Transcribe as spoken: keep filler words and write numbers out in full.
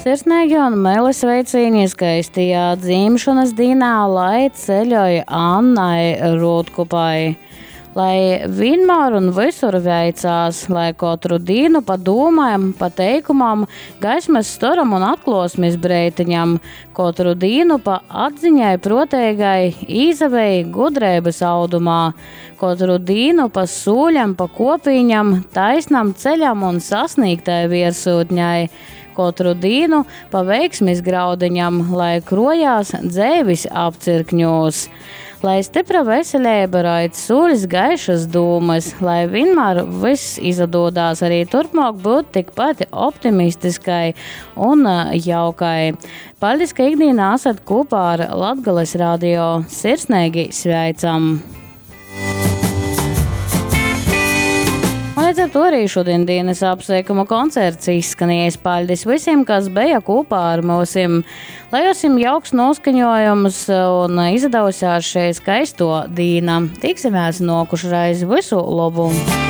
Sirsneigi un meli sveicīni skaistajā dzimšanas dīnā, lai ceļoj Annai Rūtkupai. Lai vienmēr un visur veicās, lai katru dienu pa dūmām, pa teikumam, gaismas storam un atklosmes breitiņam, katru dienu pa atziņai proteigai, īzavēj gudrības audumā, katru dienu pa sūļam, pa kopiņam, taisnam ceļam un sasniegtai viersūtņai, katru dienu pa veiksmis graudiņam, lai krojās dzēvis apcirkņos. Lai stipra veselība raid sūļs gaišas dūmas, lai vienmēr viss izdodās arī turpmāk būt tikpat optimistiskai un jaukai. Paldies, ka ikdienā esat kopā ar Latgales radio. Sirsnīgi sveicam! Līdz ar to arī šodien dienas apsveikuma koncerts izskanējis. Paldies visiem, kas bija kopā ar mūsim. Lai jums jauks noskaņojums un izdevusies šī skaisto dīna. Tiksimies nokušreiz. Visu labu!